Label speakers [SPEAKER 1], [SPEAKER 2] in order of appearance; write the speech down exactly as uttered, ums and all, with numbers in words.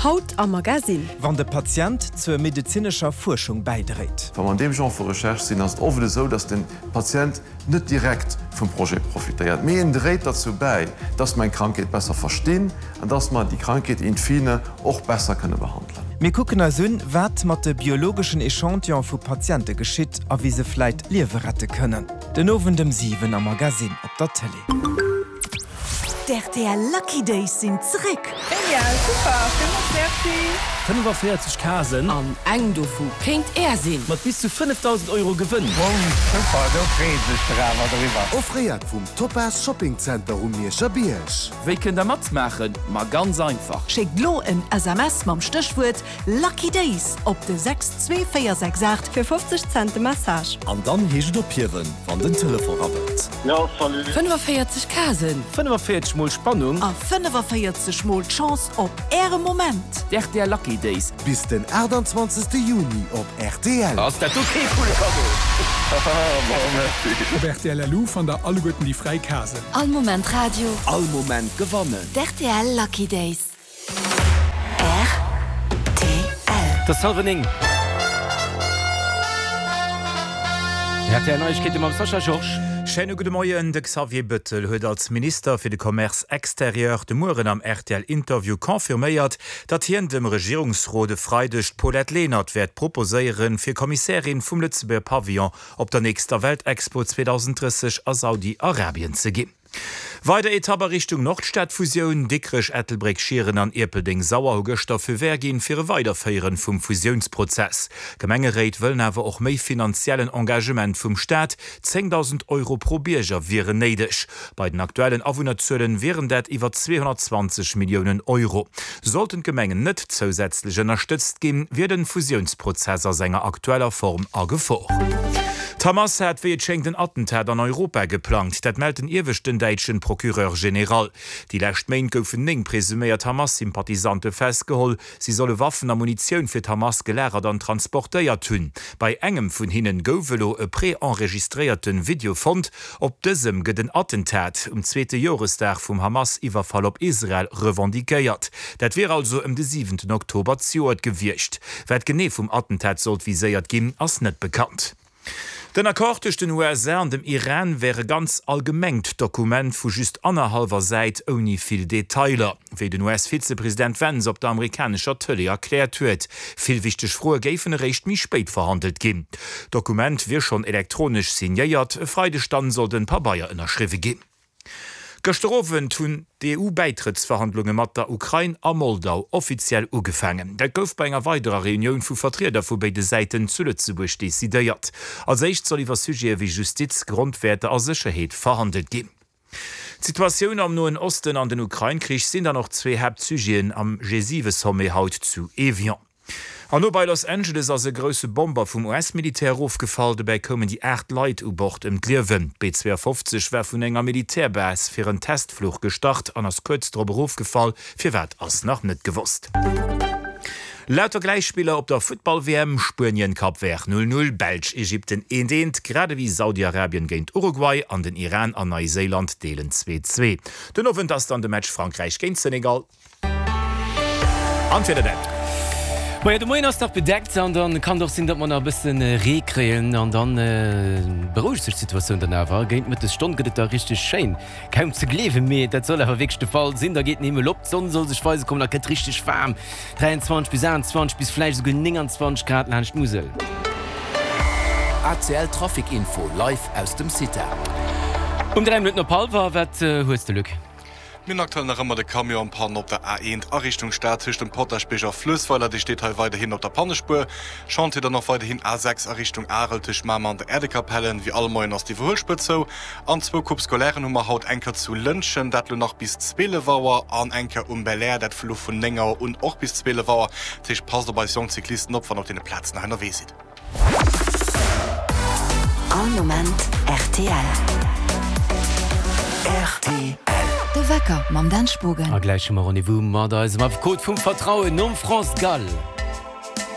[SPEAKER 1] Haut am Magasinn.
[SPEAKER 2] Wann de Patient zur medezinescher Fuerschung bäidréit.
[SPEAKER 3] Wa mer an deem Genre vu Recherche sinn, ass et oft esou, dass de Patient net direkt vum Projet profitéiert, mee en dréit derzou bäi, dass mer eng Krankheet besser verstinn an dass mer déi Krankheet in fine och besser kënne behandelen.
[SPEAKER 2] Mir kucken eis un, wat mat de biologeschen Echantillone vu Patiente geschitt a wéi se vläit Liewe rette kënnen. Den Owend ëm siwen am Magasinn op der Tëlee.
[SPEAKER 4] D'RTL Lucky Days sinn zeréck!
[SPEAKER 5] Genial, super, villmools merci!
[SPEAKER 6] fënnefaféierzeg Casen.
[SPEAKER 7] An eng dovu kéint Är sinn!
[SPEAKER 6] Mat bis zu fënnefdausend Euro Gewënn.
[SPEAKER 8] Wow, super, do freeë sech der awer driwwer.
[SPEAKER 9] Offréiert vum Topaz Shopping Center um Mierscher Bierg.
[SPEAKER 6] Wéi kënnt der matmaachen? Ma ganz einfach!
[SPEAKER 4] Schéckt lo en S M S mam Stéchwuert Lucky Days op de sechs zwee véier sechs aacht.
[SPEAKER 1] Fir fofzeg Cent de Message.
[SPEAKER 10] An dann heescht et ophiewen, wann den Telefon rabbelt.
[SPEAKER 11] Jo, salut.
[SPEAKER 7] fënnefaféierzeg Casen.
[SPEAKER 6] fënnefaféierzeg mol Spannung.
[SPEAKER 4] A fënnefaféierzeg mol d'Chance op Äre Moment.
[SPEAKER 6] D'R T L Lucky Days.
[SPEAKER 9] Bis den aachtanzwanzegste Juni op R T L.
[SPEAKER 6] Ass dat do kee coole Kaddo?
[SPEAKER 11] Haha, bon, merci.
[SPEAKER 12] Op R T L L U fannt der alleguerten déi fräi Casen.
[SPEAKER 13] All Moment Radio.
[SPEAKER 10] All Moment gewannen.
[SPEAKER 13] D'R T L Lucky Days. R T L.
[SPEAKER 6] Et ass hallwer néng. R T L Neiegkeete mam Sascha Georges.
[SPEAKER 14] Schéine gudde Moien. De Xavier Bettel huet als Minister fir de Commerce extérieur de Mueren am R T L-Interview confirméiert, datt hien dem Regierungsrot e Freideg d'Paulette Lenert wäert proposéieren, fir Kommissärin vum Lëtzebuerger Pavillon op der nächster Weltexpo zweedausendrësseg a Saudi-Arabien ze ginn. Weider Etapp a Richtung Nordstadfusioun, Dikrech, Ettelbréck, Schieren an Ierpeldeng-Sauer hu gëschter Feu vert ginn fir e Weiderféieren vum Fusiounsprozess. D'Gemengeréit wëllen awer och méi finanziellen Engagement vum Staat, zéngdausend Euro pro Bierger wieren néideg. Bei den aktuellen Awunnerzuelen wieren dat iwwer zweehonnertzwanzeg Milliounen Euro. Sollten d'Gemengen net zousätzlech ënnerstëtzt ginn, wier den Fusiounsprozess a senger aktueller Form a Gefor. D'Hamas hat wéi et schéngt en Attentat an Europa geplangt, dat mellt den ieweschten däitschen Procureur général. Déi lescht Méint goufen néng presuméiert Hamas-Sympathisante festgeholl. Si solle Waffen a Munitioun fir d'Hamas gelagert an transportéiert hunn. Bei engem vun hinnen gouf elo e pre-enregistréierte Video fonnt. Op dësem gëtt en Attentat um zweete Joresdag vum Hamas-Iwwerfall op Israel revendiquéiert. Dat wier also ëm de siwenten Oktober zejoert gewiescht. Wat genee vum Attentat sollt viséiert ginn, ass net bekannt. Den Accord tëscht den U S A an dem Iran wär e ganz allgemengt Dokument vu just annerhallwer Säit ouni vill Detailer, wéi den U S-Vizepresident Vance op der amerikanescher Tëlee erkläert huet. Vill wichteg Froe géifen eréischt méi spéit verhandelt ginn. D'Dokument wier schonn elektronesch signéiert, e Freideg dann soll den Pabeier ënnerschriwwe ginn. Gëschter Owend hunn d'E U-Bäitrëttsverhandlunge mat der Ukrain a Moldau offiziell ugefaangen. Dat gouf bei enger weiderer Reunioun vu Vertrieder vu béide Säiten zu Lëtzebuerg decidéiert. Als éischt soll iwwer Sujete wéi Justiz, Grondwäerter a Sécherheet verhandelt ginn. D'Situatioun am Noen Osten an den Ukrain-Krich sinn dann och zwee Haaptsujeten am G siwe Sommet haut zu Evian. An no bei Los Angeles ass e grousse Bomber vum U S-Militär erofgefall. Dobäi koumen déi aacht Leit u Bord ëm d'Liewen. D'B zwouafofzeg war vun enger Militärbase fir en Testfluch gestart an ass kuerz drop erofgefall. Firwat ass nach net gewosst. Lauter Gläichspiller op der Futtball-W M, Spuenien, Cap Vert null null, Belsch, Ägypten eent eent, grad ewéi Saudi-Arabien géint Uruguay an den Iran an Neiséiland deelen zwee zwee. Den Owend ass dann de Match Frankräich géint Senegal. An d'Wieder dann.
[SPEAKER 15] Majo, de Moien ass nach bedeckt an dann kann et och sinn, datt mer nach e bëssen Ree kréien an dann berouegt sech d'Situatioun dann awer. Géint Mëttesstonn gëtt et da richteg schéin, kaum ze gleewen, mee dat soll awer wierklech de Fall sinn. Da geet den Himmel op, d'Sonn soll sech weise kommen a gëtt richteg waarm, dräianzwanzeg bis aachtanzwanzeg bis vläicht esouguer nénganzwanzeg Grad laanscht d'Musel.
[SPEAKER 16] A C L Trafic Info live aus dem CITA.
[SPEAKER 15] Um dräi Minutten op hallwer, wat hues de, Luc?
[SPEAKER 17] Mir hunn aktuell nach ëmmer de Camion en panne op der A eent a Richtung Stad tëscht dem Potaschbierg a Fluessweiler. Dee steet hei weiderhin op der Pannespuer. Chantier dann och weiderhin A sechs a Richtung Arel tëscht Mamer an der Äerdekapellen. Wéi all Moien ass d'Iwwerhuelspuer zou. An zwou Coupes scolairen hu mer haut, eng Kéier zu Lëntgen, dat lo nach bis zwielef Auer, an eng Kéier um Belair, dat vu lo vun néng Auer un och bis zwielef Auer. Dat heescht, passt op eis jonk Cyclisten op, wann der op deene Plazen hei ënnerwee sidd.
[SPEAKER 13] All Moment R T L.
[SPEAKER 16] R T L.
[SPEAKER 13] De Wecker mam Dan Spogen.
[SPEAKER 15] A gläich hu mer Rendez-vous mat eisem Affekot vum Vertrauen nom France Gall.